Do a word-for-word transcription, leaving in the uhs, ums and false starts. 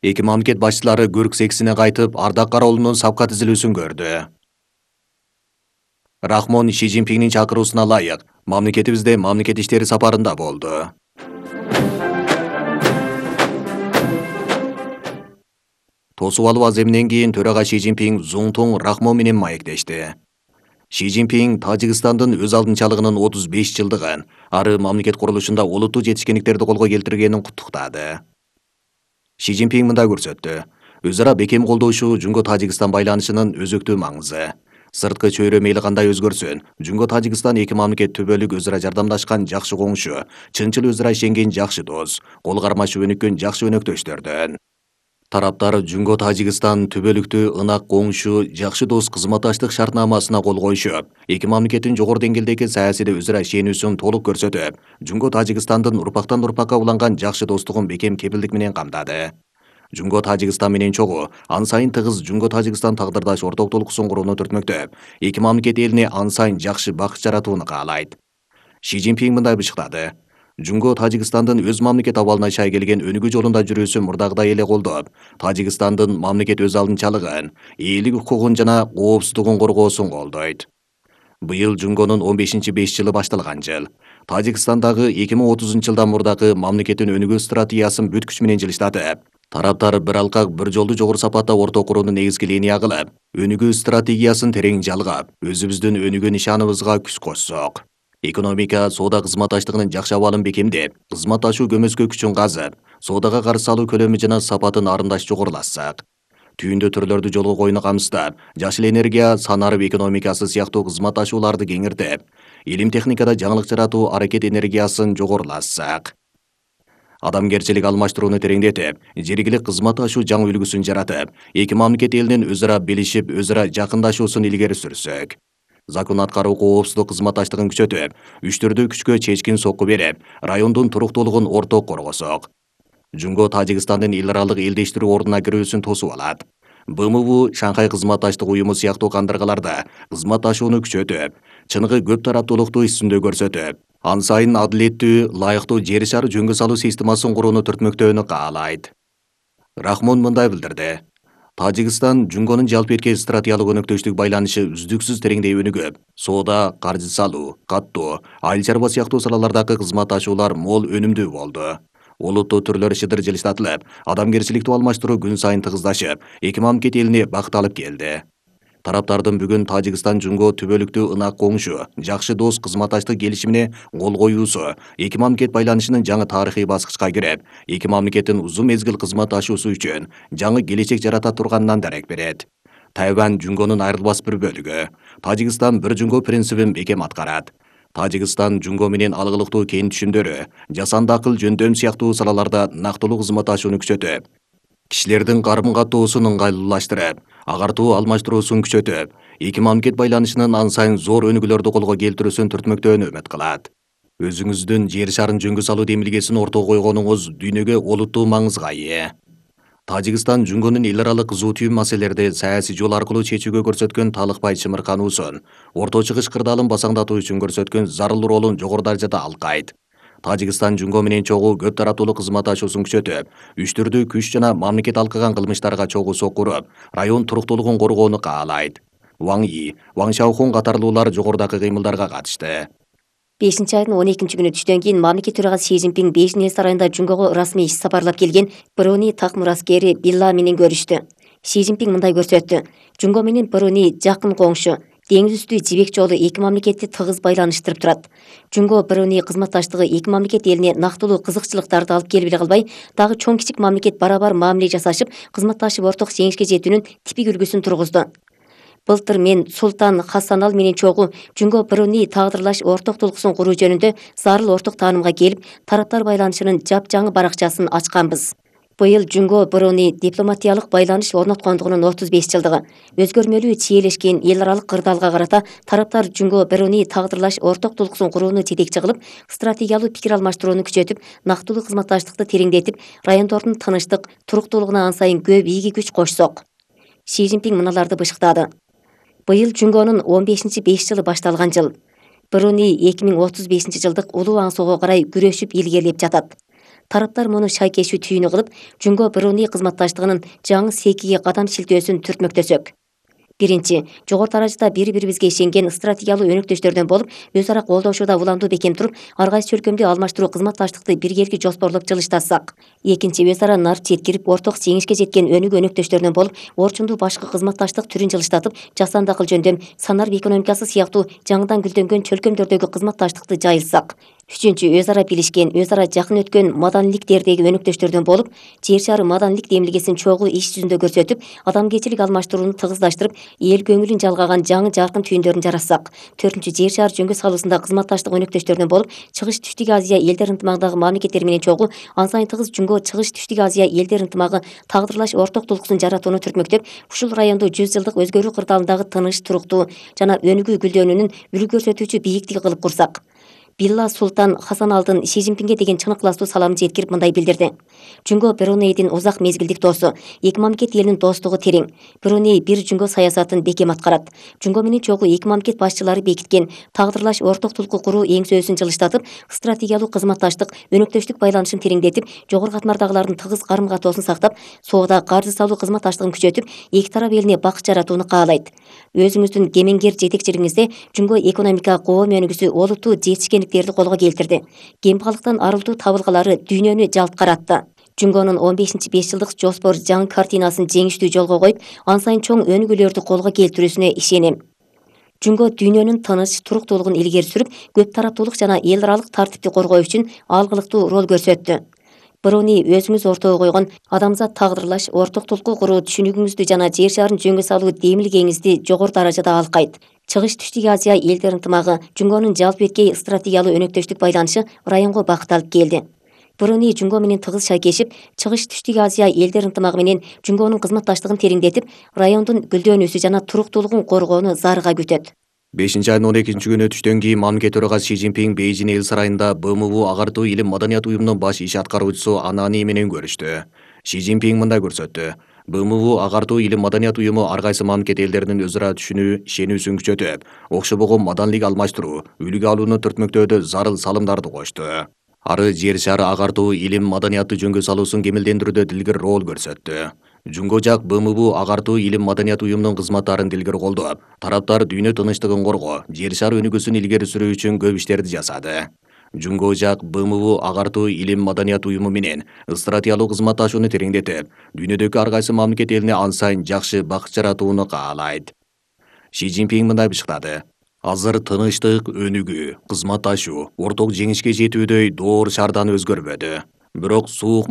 Эки мамлекет башчылары Күрк сексине кайтып, ардак кароолунун сапка тизилүүсүн көрдү. Рахмон Ши Цзиньпиндин чакыруусуна ылайык мамлекетибизде мамлекет иштери сапарында болду. Тосуп алуу аземинен кийин төрага Ши Цзиньпин Зуңтуң Рахмон менен маектешти. Ши Цзиньпин Тажикстандын өз алдынчалыгынын отуз беш жылдыгын, ары мамлекет курулушунда олуттуу жетишкендиктерди колго келтиргенин куттуктады. Ши Цзиньпин мындай көрсөттү. Өз ара бекем колдошуу Жунго-Тажикстан байланышынын өзөктүү маңызы. Сырткы чөйрө мейли кандай өзгөрсүн, Жунго-Тажикстан эки мамлекет түбөлүк өз ара жардамдашкан жакшы коңшу, чынчыл өз ара ишенген жакшы дос, кол кармашып өнүккөн жакшы өнөктөштөрдөн. Тараптар Жунго-Тажикстан түбөлүктүү ынак коңшу, жакшы дос кызматташтык шартнамасына кол коюшуп, эки мамлекеттин жогору деңгээлдеги саясийде өз ара ишенүүсүн толук көрсөтүп, Жунго-Тажикстандын урпактан урпакка уланган жакшы достугун бекем кепилдик менен камдады. Жунго-Тажикстан менен чогуу, ан сайын тыгыз Жунго-Тажикстан тагдырдаш орток толкусун курууну түртмөктөп, эки мамлекет элине ан сайын жакшы бакыт жаратууну каалайт. Ши Цзиньпин мындай бышыктады. Жунго-Тажикстандын өз мамлекет абалына шай келген өнүгүү жолунда жүрүүсүн мурдагыдай эле колдоп, Тажикстандын мамлекет өз алдынчалыгын, элдик укугун жана коопсуздугун коргоосун колдойт. Быйыл Жунгонун он бешинчи беш жылы башталган жыл. Тажикстандагы эки миң отузунчу жылдан мурдагы мамлекеттин өнүгүү стратегиясын бүт күч менен жылыштатып, тараптар бир алкак бир жолду жогору сапатта орток курууну негизги линия кылып, өнүгүү стратегиясын терең жалгап, өзүбүздүн өнүгүү нишаныбызга күч кошсок. Экономика, соода кызматташтыгынын жакшы абалын бекемдеп, кызматташуу көмөскө күчүн казып, соодага каршы салуу көлөмү жана сапатын арындаш жогорулатсак. Түйүндө түрлөрдү жолго коюуну камсыздап, жашыл энергия, санарып экономикасы сыяктуу кызматташууларды кеңиртип, илим техникада жаңылык жаратуу аракет энергиясын жогорулатсак. Адамгерчилик алмаштырууну тереңдетип, жергилик кызматташуу жаңы үлгүсүн жаратып, эки мамлекет элинин өз ара билишип, өз ара жакындашуусун илгери сүрсөк. Закон аткаруу коопсуздук кызматташтыгын күчөтүп, үчтөрдүү күчкө чечкин сокку берип, райондун туруктуулугун орток коргосок. Жунго-Тажикстандын эл аралык элдештирүү ордуна кирүүсүн тосуп алат. Б М В Шанхай кызматташтык уюму сыяктуу кандыргаларда кызматташууну күчөтүп, чыныгы көп тараптуулукту үстүндө көрсөтүп, ан сайын адилеттүү, ылайыктуу жер шары жөнгө салуу системасын курууну түртмөктөөнү каалайт. Рахмон мындай билдирди. Тажикстан Жунгонун жалпы эркек стратегиялык өнөктөштүк байланышы үздүксүз тереңдей өнүгүп, соода, каржы салуу, каттоо, айыл чарба сыяктуу салалардагы кызматташуулар мол өнүмдүү болду. Олуттуу түрлөр шыдыр жылыштатылып, адамгерчиликтүү алмаштыруу күн сайын тыгыздашып, эки мамлекет элине бакыт алып келди. Тараптардын бүгүн Тажикстан Жунго түбөлүктүү ынак коңшу, жакшы дос кызматташтык келишимине кол коюусу эки мамлекет байланышынын жаңы тарыхый баскычка кирип, эки мамлекеттин узун мезгил кызматташуусу үчүн жаңы келечек жарата турганынан дарек берет. Тайвань Жунгонун айрылбас бир бөлүгү. Тажикстан бир Жунго принцибин бекем аткарат. Тажикстан Жунго менен алгылыктуу кең түшүмдөрү, жасанды акыл жөндөм сыяктуу салаларда нактылуу кызматташууну күчөтүп, кишилердин карым каттоосун ыңгайлуулаштырып, агартуу алмаштыруусун күчөтүп, эки мамлекет байланышынын ан сайын зор өнүгүүлөрдү колго келтирүүсүн түртмөктөөнү үмүт кылат. Өзүңүздүн жер шарын жөнгө салуу демилгесин ортого койгонуңуз дүйнөгө олуттуу маңызга ээ. Тажикстан Жунгонун эл аралык кызуу түйүн маселелерди саясий жол аркылуу чечүүгө көрсөткөн талыкпай чымыркануусун, Орто Чыгыш кырдаалын басаңдатуу үчүн көрсөткөн зарыл ролун жогору даражада алкайт. Тажикстан Жунго менен чогуу көп тараптуулук кызматташуусун күчөтүп, үчтөрдүү күч жана мамлекет алкаган кылмыштарга чогуу сокку уруп, район туруктуулугун коргоону каалайт. Ваң И, Ваң Шаохун катарлуулар жогорудагы кыймылдарга катышты. бешинчи айдын он экинчи күнү түштөн кийин мамлекет төрагасы Ши Цзиньпин Бейжиң эл сарайында Жунгого расмий иш сапарлап келген Бруни такмыр аскери Билла менен көрүштү. Ши Цзиньпин мындай көрсөттү. Жунго менен Бруни жакын коңшу, деңиз үстү жибек жолу эки мамлекетти тыгыз байланыштырып турат. Жунго Бруни кызматташтыгы эки мамлекет элине нактылуу кызыкчылыктарды алып келип эле калбай, дагы чоң кичик мамлекет барабар мамиле жасашып, кызматташып орток жеңишке жетүүнүн типик үлгүсүн тургузду. Былтыр мен Султан Хасанал менен чогуу Жунго Бруни тагдырлаш орток толкусун куруу жөнүндө зарыл орток таанымга келип, тараптар байланышынын жапжаңы баракчасын ачканбыз. Быйыл Жунго Бруни дипломатиялык байланыш орноткондугунун отуз беш жылдыгы. Өзгөрмөлүү чиелешкен эл аралык кырдаалга карата тараптар Жунго Бруни тагдырлаш орток толкусун курууну жетекчи кылып, стратегиялуу пикир алмаштырууну күчөтүп, нактылуу кызматташтыкты тереңдетип, райондордун тынычтык, туруктуулугуна ан сайын көп ийги күч кошсок. Ши Цзиньпин мыналарды бышыктады. Быйыл Жунгонун он бешинчи беш жылы башталган жыл. Бруни эки миң отуз бешинчи жылдык улуу аңсоого карай күрөшүп илгерилеп жатат. тараптар муну шайкешүү түйүнү кылып, Жунго Бруни кызматташтыгынын жаңы секиге кадам шилтөөсүн түртмөктөсөк. Биринчи, жогору даражада бири-бирибизге ишенген стратегиялуу өнөктөштөрдөн болуп, өз ара колдошууда уламдуу бекем туруп, ар кайсы чөлкөмдү алмаштыруу кызматташтыкты биргеликти жоспорлоп жылыштатсак. Экинчи, өз ара нар жеткирип, орток жеңишке жеткен өнүгүү өнөктөштөрдөн болуп, орчундуу башкы кызматташтык түрүн жылыштатып, жасанды акыл жөндөм, санарб экономикасы сыяктуу жаңыдан гүлдөнгөн чөлкөмдөрдөгү кызматташтыкты жайылтсак. Үчүнчү, өз ара билишкен, өз ара жакын өткөн маданиликтердеги өнөктөштөрдөн болуп, жер шары маданилик демилгесин чогуу иш жүзүндө көрсөтүп, адамгерчилик алмаштырууну тыгыздаштырып, эл көңүлүн жалгаган жаңы жаркын түйүндөрүн жаратсак. Төртүнчү, жер шары жөнгө салуусунда кызматташтык өнөктөштөрдөн болуп, чыгыш Түштүк Азия элдер ынтымагындагы мамлекеттер менен чогуу ансайн тыгыз Жунго чыгыш Түштүк Азия элдер ынтымагы тагдырлаш орток тулкуусун жаратууну түртмөктөп, ушул райондо жүз жылдык өзгөрүү кырдаалындагы тыныч, туруктуу жана өнүгүү гүлдөнүүнүн үлгү көрсөтүүчү бийиктиги кылып курсак. Билла Султан Хасаналдын Си Цзиньпинге деген чын ыкластуу саламын жеткирип мындай билдирди. Жунго Брунейдин узак мезгилдик досу, эки мамлекет элинин достугу терең. Бруней бир Жунго саясатын бекем аткарат. Жунго менен чогуу эки мамлекет башчылары бекиткен тагдырлаш орток тулкуу куруу эңсөөсүн жылыштатып, стратегиялуу кызматташтык, өнөктөштүк байланышын тереңдетип, жогору катмардагылардын тыгыз карым катоосун сактап, соода, каржы салуу кызматташтыгын күчөтүп, эки тарап элине бакыт жаратууну каалайт. Өзүңүздүн кемеңгер жетекчилигиңизде Жунго экономика коом өнүгүүсү олуттуу жетишкендиктерди колго келтирди. Кембагалыктан арылтуу табылгалары дүйнөнү жалт каратты. Жунгонун он бешинчи беш жылдык жоспор жаңы картинасын жеңиштүү жолго коюп, ансайн чоң өнүгүүлөрдү колго келтирүүсүнө ишенем. Жунго дүйнөнүн тыныч, туруктуулугун илгери сүрүп, көп тараптуулук жана эл аралык тартипти коргоо үчүн алгылыктуу роль көрсөттү. Бруни өзүңүз ортого койгон адамзат тагдырлаш, орток тулкуу куруу түшүнүгүңүздү жана жер шарын жөнгө салуу демилгеңизди жогору даражада алкайт. Чыгыш Түштүк Азия элдер ынтымагы, Жунгонун жалпы эткей стратегиялуу өнөктөштүк байланышы районго бакыт алып келди. Бруни Жунго менен тыгыз шайкешип, Чыгыш Түштүк Азия элдер ынтымагы менен Жунгонун кызматташтыгын тереңдетип, райондун гүлдөнүүсү жана туруктуулугун коргоону зарыга күтөт. бешинчи айдын он экинчи күнү түштөн кийин мамлекет төрагасы Си Цзиньпин Бейжиң эл сарайында Б М У агартуу илим маданият уюмунун баш иш аткаруучусу Анани менен көрүштү. Си Цзиньпин мындай көрсөттү. Б М У агартуу илим маданият уюму ар кайсы мамлекет элдеринин өз ара түшүнүү, ишенүүсүн күчөтүп, окшобогон маданилик алмаштыруу, үлгү алууну түртмөктөөдө зарыл салымдарды кошту. Ары жер шары агартуу илим маданиятты жөнгө салуусун кемелдендирүүдө дилгир роль көрсөттү. Жунго жак Б М У агартуу илим маданият уюмунун кызматтарын дилгер колдоп, тараптар дүйнө тынчтыгын коргоо, жер шары өнүгүүсүн илгери сүрүү үчүн көп иштерди жасады. Жунго жак Б М У агартуу илим маданият уюму менен стратегиялуу кызматташууну тереңдетип, дүйнөдөгү ар кайсы мамлекет элине ансайн жакшы бакыт жаратууну каалайт. Си Цзиньпин мындай бышыктады. Азыр тынычтык, өнүгүү, кызматташуу, орток жеңишке жетүүдөй доор шаардан өзгөрбөдү. Бирок суук